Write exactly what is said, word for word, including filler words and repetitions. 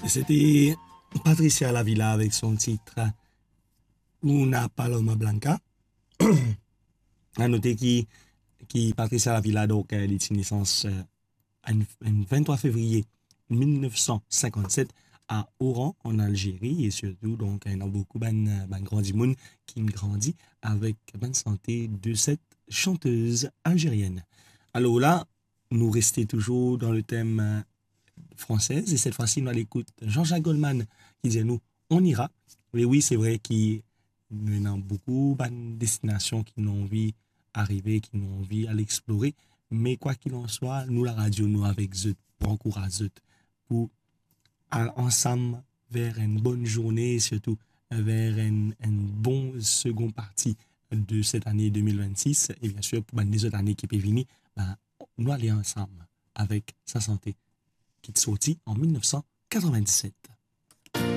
C'était Patricia Lavilla avec son titre Una Paloma Blanca. À noter ki, ki Patricia Lavilla, donk, euh, li ti nesans, euh, en, en vingt-trois février mil neuf cent cinquante-sept à Oran, en Algérie, et surtout, donk, euh, ena boukou bann, euh, bann gran dimoun ki grandi avek bann sante de cette chanteuse algérienne. Alors là, nous restons toujours dans le thème, euh, français, et cette fois-ci, nous allons écouter Jean-Jacques Goldman qui dit à nous, On ira. E wi, se vre ki nou ena boukou bann destinasion ki nou anvi arive, ki nou anvi al explore, me kwa qu'il en soit, nou laradio, nou avek zot pou ankouraz zot, pou al ansam ver enn bonn zourne, e sirtou ver enn, enn bon segon parti de set ane de mil vennsis, e bien sir pou bann lezot ane ki pe vini, ben, nou ale ansam avek sa sante ki ti sorti an mil neuf san katrovin-diset.